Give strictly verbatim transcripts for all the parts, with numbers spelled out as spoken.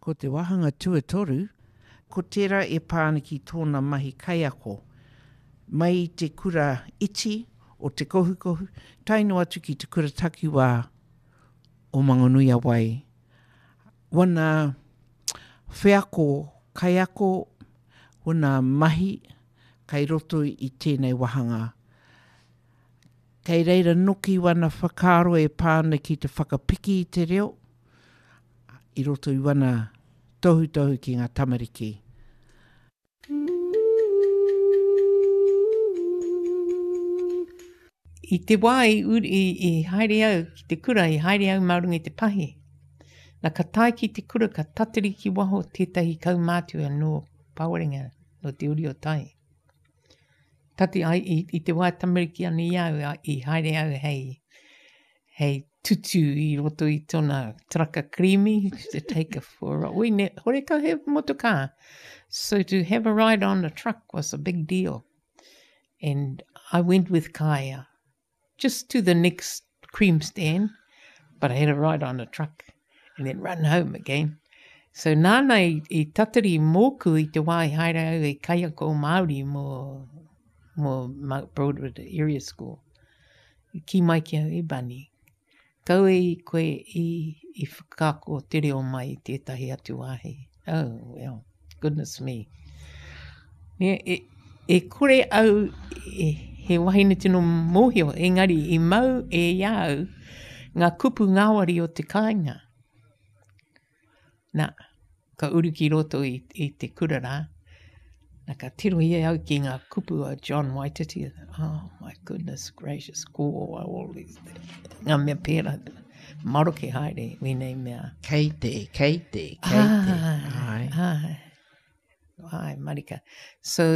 Ko te wāhanga tuatoru, ko tērā e pā ana ki tōna mahi kaiako. Mai i te kura iti o Te Kohukohu, tae noa atu ki te kura takiwā o Mangonui-a-Wai. Wana wheako kaiako, wana mahi kai roto i tēnei wāhanga. Kei reira noki wana whakaaro e pā ana ki te whakapiki i te reo, i roto i wana tohutohu ki ngā tamariki. I te wā i, i, i haere au ki te kura, i haere au mā runga i te pahi. Na ka tae ki te kura, ka tatari ki waho tētahi kaumātua nō Pawarenga, nō Te Uri o Tai. Tati ai, i, i te wā tamariki ana i au, i haere au hei, hei tutu i roto i tōna taraka creamy, to take a for a ride. Ne, horekau he motokā. So to have a ride on a truck was a big deal. And I went with Kaya, just to the next cream stand, but I had a ride on a truck and then run home again. So nāna i, i tatari mōku i te wā i haere au e kaiako Māori mō, mō Mount Broadwood Area School. I kī mai ki au, e Bunny, kaua i koe i, i whakaako te reo mai i tētahi atu wāhi. Oh, well, goodness me. Ne, e, e kore au e, he wahine tino mōhio, engari i mau e i a au ngā kupu ngāwari o te kāinga. Na, ka uru ki roto i, i te kura rā. Na, ka tirohia au ki ngā kupu a John Waititi. Oh my goodness gracious, ko all these, ngā mea pērā. Maroke haere wēnei mea. Kei te, kei te, kei te. Ai. Ai, ai, marika. So,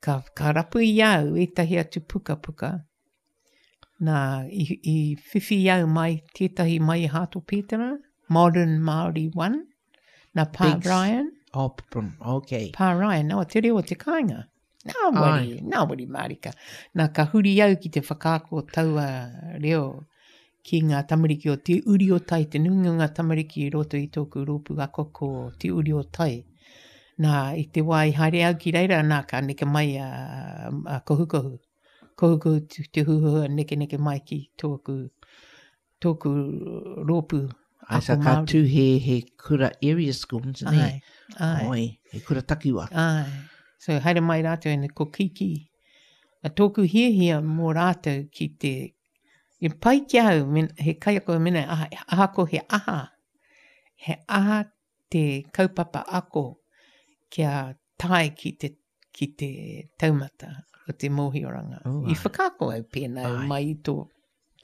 ka, ka rapu i au ētahi atu pukapuka. Nā, i, i whiwhi au mai tētahi mai i Hato Pētera, Modern Māori One, nā Pa Biggs. Ryan. Oh, okay. Pa Ryan, oh, te reo o te kāinga. Nā wari, nā wari mārika. Nā, ka huri au ki te whakaako taua reo ki ngā tamariki o Te Uri o Tai, te nuinga o ngā tamariki i roto i tōku rōpū ako ko Te Uri o Tai. Nā, i te wā i haere au ki reira, nā, ka neke mai a, a Kohukohu. Kohukohu te, te huhua neke neke mai ki tōku, tōku rōpū Ai, ako sa ka Māori. tū he, he kura area school, ne? Ai, ai. Oi, he kura takiwa. Ai. So, haere mai rātou ene ko Kiki. A tōku hiahia mō rātou ki te... I pai ki au, men, he kaiako mena, aha, ahako he aha. He aha te kaupapa ako kia tae ki te, ki te taumata o te mōhioranga. Oh, I ai. whakaako au pēnā Ai. mai i tō,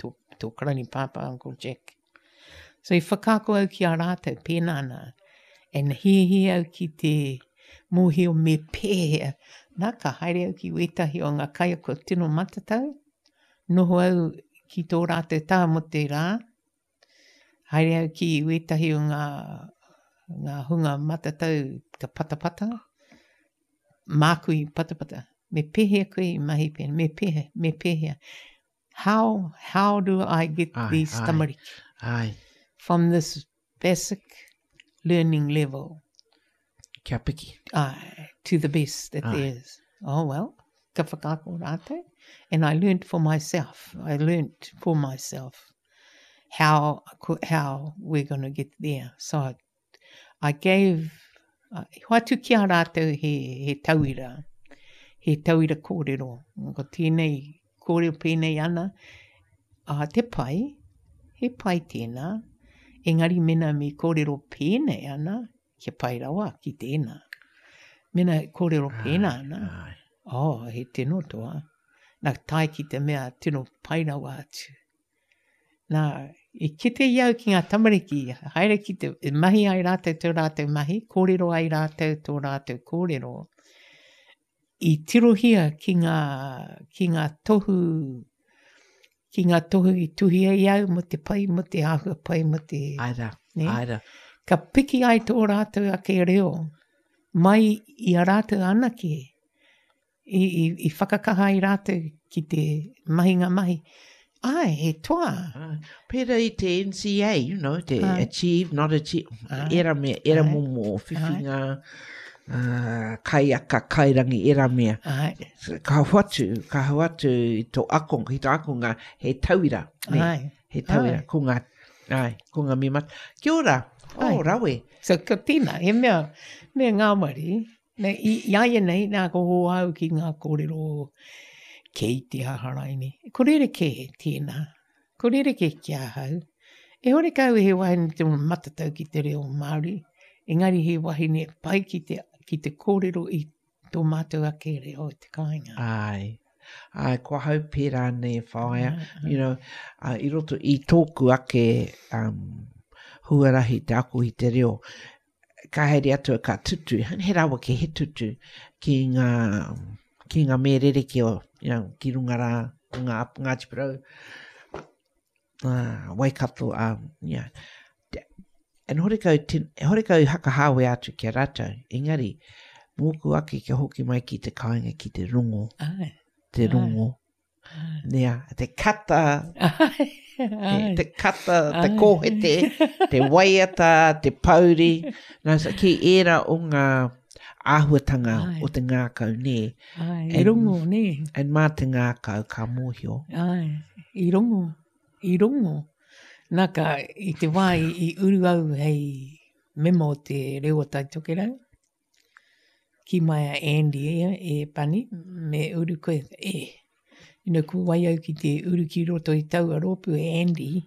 tō, tō karani pāpā, Uncle Jack. So i whakaako au ki a rātou pēnā nā. And hiahia au ki te mōhio me pēhea. Nā, ka haere au ki wētahi o ngā kaiako tino matatau. Noho au ki tō rātou taha mō te rā. Haere au ki wētahi o ngā, ngā hunga matatau ka patapata. Māku i patapata. Me pēhea koe i mahi pēnā, me pēhea, me pēhea. How, how do I get Ai, these ai. tamariki Ai, from this basic learning level kia piki. ai, to the best that Ai. there is? Oh, well, ka whakaako rātou. And I learnt for myself. I learnt for myself how, how we're gonna get there. So I, I gave, I hoatu ki a rātou he, he tauira, he tauira kōrero. Ko tēnei kōrero pēnei ana, a te pai, he pai tēnā, engari mena me kōrero pēnei ana, kia pai rawa ki tēnā. Mena kōrero pēnā ana, Ai. oh, he tino toa. Nā, tae ki te mea tino pai rawa atu. Nā, i kite i au ki ngā tamariki, haere ki te, e mahi ai rātou tō rātou mahi, kōrero ai rātou tō rātou kōrero. I tirohia ki ngā, ki ngā tohu, ki ngā tohu i tuhia i au mō te pai, mō te āhua pai, mō te... Ai rā, Ne? ai rā. Ka piki ai tō rātou ake reo, mai i a rātou anake, i, i, i whakakaha ai rātou ki te mahi ngā mahi. Ai, he toa. Ai. Pērā i te N C A, you know, te Ai. achieve, not achieve, Ai. era mea, era Ai. momo whiwhinga, uh, kaiaka, kairangi, era mea. Ai, Ka hoatu, ka hoatu i tō akonga, ki tō akonga, he tauira, ne? Ai. He tauira, Ai. ko ngā, ai, ko ngā mea mat. Kia ora, oh, Ai. rawe. So, ko tēnā, he mea, mea ngāwari, nei, i, i aia nei, nā ko ho au ki ngā kōrero kei te aharaini. Ko rerekē tēnā, ko rerekē ki ahau. E hore kau he wahine te matatau ki te reo Māori, engari he wahine pai ki te, ki te kōrero i tō mātou ake reo i te kāinga. Ai. Ai, ko ahau pērā nei whaea, Ai, ai. you know, uh, i roto i tōku ake um, huarahi te ako i te reo, ka haere atu ka tutu, he rawa ke he tutu ki ngā, ki ngā mea rerekē o, you know, ki runga rā, ngā Ngāti Porou, uh, Waikato, um, yeah. Te- And horekau, tin, horekau hakahawe atu ki a rātou, engari, mōku ake kia hoki mai ki te kāinga ki te rongo, Ai. te Ai. rongo, nea, te kata, Ai. te, Ai. te kata, te Ai. kōhete, te waiata, te pauri. Nā, so, ki ērā o ngā āhuatanga Ai. o te ngākau, nē. Ai, i And- rongo, nē. And mā te ngākau ka mōhio. Ai, i rongo, i rongo. Nā ka, i te wā i, i uru au hei mema o te reo o Tai Tokerau, ki mai a Andy e, e Pani, me uru koe, e. You know, ko wai au ki te uru ki roto i taua rōpū e Andy.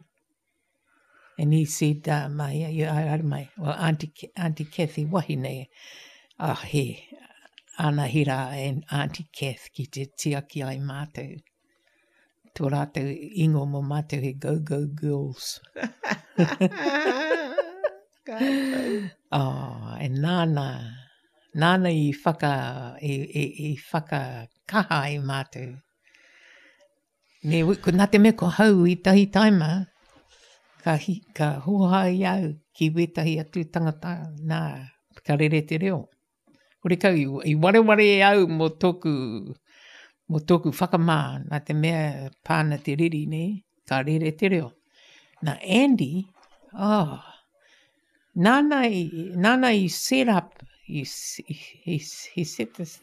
And he said, uh, mai, ia, haere mai, well, Auntie, Auntie Kathy wahine, ah, he, ana hira and Auntie Kath ki te tiaki ai mātou. Tō rātou ingo mō mātou he go-go girls. Oh, e nāna, nāna i whaka, i, i, i whakakaha ai mātou. Ne, ko nā te mea ko hau i tahi taima, ka, hi, ka hoha i au ki wētahi atu tangata, nā, ka rere te reo. Kore kau, i, i wareware e au mō tōku, mō tōku whakamā, nā te mea pāna te riri, ne, ka rere te reo. Nā Andy, oh, nāna i, nāna i set up, i, i, he, he set this,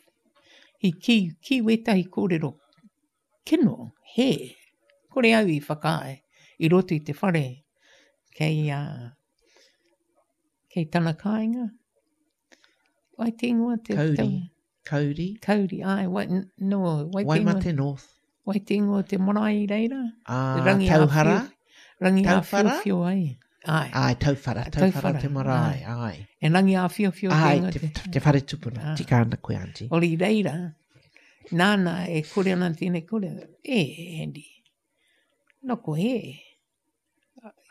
he ki, ki wētahi kōrero kino, he, kore au i whakaae, i roto i te whare, kei, uh, kei tana kāinga. Wai te ingoa te... Kauri. Kauri. Kauri, ai, wai, no, wai te ingoa, Waimate North. wai te ingoa te marae i reira. Ah, Rangi Tauhara. āwhio- Rangi Tauwhara? āwhiowhio ai. Ai. Ai, Tauwhara. Tauwhara Tauwhara, te marae, ai. E rangi āwhiowhio te Ai, ingoa te, te... te whare tupuna. Ah. Tika ana koe, auntie. Ori reira, nāna e kore ana tēnei kore. E, Andy, no ko he.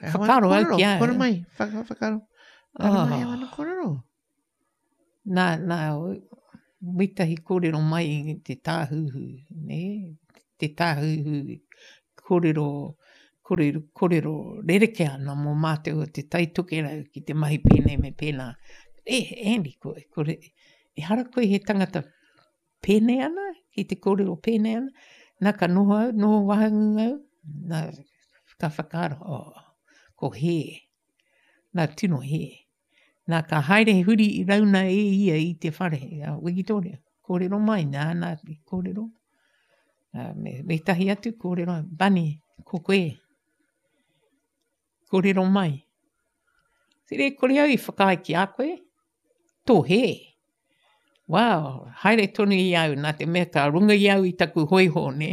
Whakaaro au ki au. Kore mai, whaka, whakaaro. Kore mai, Oh. wana kōrero. Nā, nā, wetahi kōrero mai i te tāhuhu, ne? Te tāhuhu kōrero, kōrero, kōrero rerekē ana mō mātou o te Tai Tokerau ki te mahi pēnei me pēnā. E, Andy, ko, kore, e hara koe he tangata pēnei ana, ki te kōrero pēnei ana, nā ka noho au, noho wahangu au, nā ka whakaaro, oh, ko he, nā tino he. Nā ka haere huri i rauna e ia i te whare, a Wikitoria, kōrero mai, nā, nā, kōrero. Nā, me, me tahi atu kōrero, Bunny, ko koe, kōrero mai. Sere, kore au i whakaae ki a koe, tō he. Wow, haere tonu i au, nā te mea ka runga i au i taku hoiho, ne?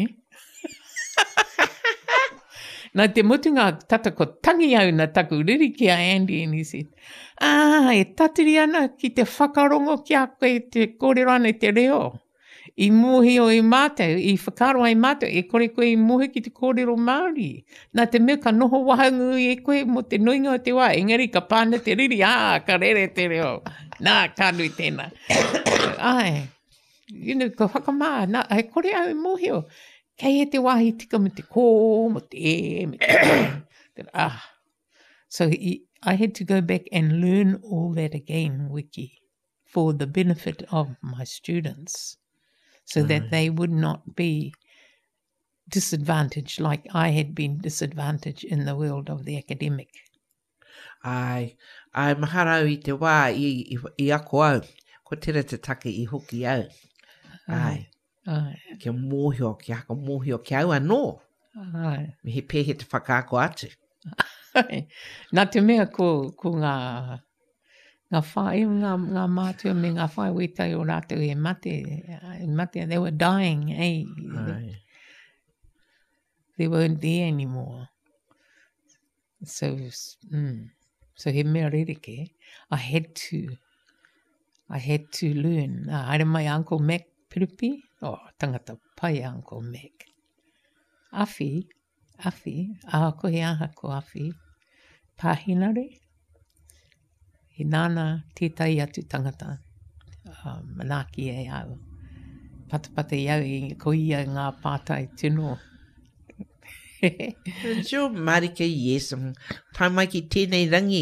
Nā te mutunga tata ko tangi au nā taku riri ki a Andy and he said, ah, e tatiri ana ki te whakarongo ki a koe te kōrero ana i te reo. I mōhio i mātou, i whakaaro ai mātou, e kore koe i mōhio ki te kōrero Māori. Nā te mea ka noho wahangu e koe mō te nuinga o te wā, engari ka pāna te riri, ā, ka rere te reo. Nā, ka nui tēnā. Ai, you know, ka whakamā, nā, e kore au i mōhio. Kei e te wāhi tika me te kō, me te e, me te ah. So he, I had to go back and learn all that again, Wiki, for the benefit of my students, so that they would not be disadvantaged like I had been disadvantaged in the world of the academic. Ai, ai mahara au i te wā i, i, i ako au, ko tera te take i hoki au. Ai, Ai. kia mōhio, kia haka mōhio ki au anō. Ai. Me he pēhe te whakaako atu. Ai. Nā te mea ko, ko ngā, ngā whae, ngā, ngā mātua me ngā whae wētai o rātou e mate, e mate, they were dying, eh? Ai. They weren't there anymore. So, mm, so he mea rereke. I had to, I had to learn. Uh, haere mai Uncle Mac Piripi. Oh, tangata pai Uncle Mac. Awhi, awhi, ahakoa he aha ko awhi. Pāhinare. He nāna tētahi atu tangata, uh, manaaki e au. Patapata i au, i, ko ia ngā pātai tino. Tio marika, yes. Tae mai ki tēnei rangi,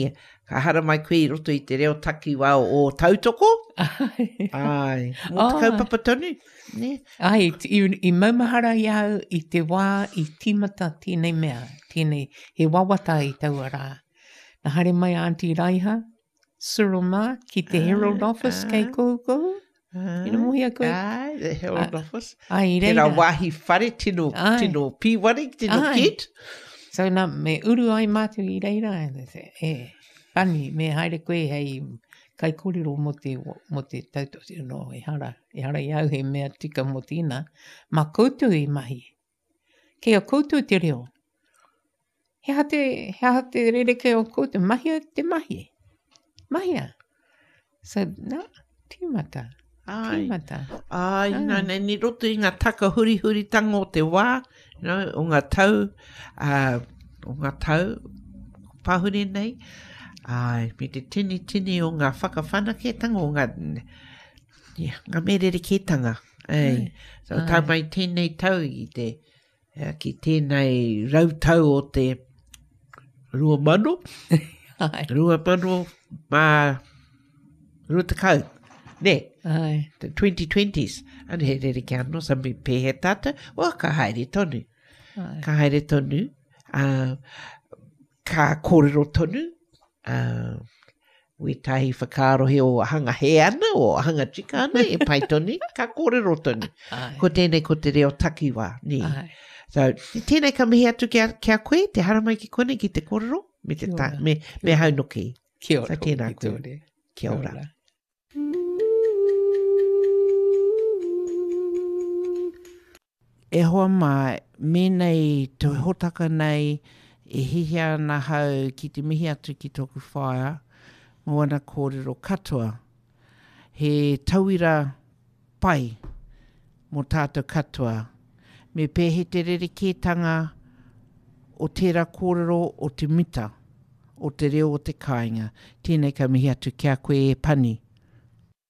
ka hara mai koe i roto i te reo takiwā o Tautoko. Ai. Ai. Mō te Ai. kaupapa tonu. Ne? Ai, i, i maumahara i au i te wā i tīmata tēnei mea, tēnei, he wawata i taua rā. Nā haere mai Auntie Raiha, Cyril mā, ki te Herald Office kei Kohukohu. Ina mohi a koe? Ai, the Herald Ai. Office. Ai, i Tērā reira. wāhi whare, tino, Ai. tino pīwari, tino Ai. kit. So nā, me uru ai mātou i reira, and they say, e, Pani, me haere koe hei kaikorero mō te, mō te tautoko. No, ehara, ehara i au he mea tika mō tēnā. Mā koutou i mahi. Kei a koutou te reo. He aha te, he aha te rereke o koutou, mahia te mahi. Mahia. So, nā, tīmata. Ai. Tīmata. Ai, Ai. nā, nā, ni roto i ngā taka hurihuritanga o te wā, you know, o ngā tau, uh, o ngā tau pahuri nei, ai, me te tini tini o ngā whakawhanaketanga, o ngā, yeah, ngā merereketanga. Ai. Ai. So, tā Ai. mai tēnei tau i te, eh, ki tēnei rautau o te rua mano, Ai. rua mano mā rua tekau. Ne, Ai. the twenty twenties. Ane he rere kia anō, sa me pēhe tātou, o, ka haere tonu. Ai. Ka haere tonu, uh, ka kōrero tonu, uh, wētahi whakaarohe o hanga he ana, o hanga tika ana, e pai tonu, ka kōrero tonu. Ai. Ko tēnei ko te reo takiwā, nē. Ai. So, tēnei ka mihi atu ki a, ki a koe, te haramai ki konei ki te kōrero, me te Kia ta, ora. me, me haunoki. Kia ora. So, tēnā koe. Victoria. Kia ora. E hoa mā, mēnei te hotaka nei e hihia ana hau ki te mihi atu ki tōku whaea mō ana kōrero katoa. He tauira pai mō tātou katoa. Me pēhe te rerekētanga o tērā kōrero o te mita, o te reo o te kāinga. Tēnei ka mihi atu ki a koe e Pani.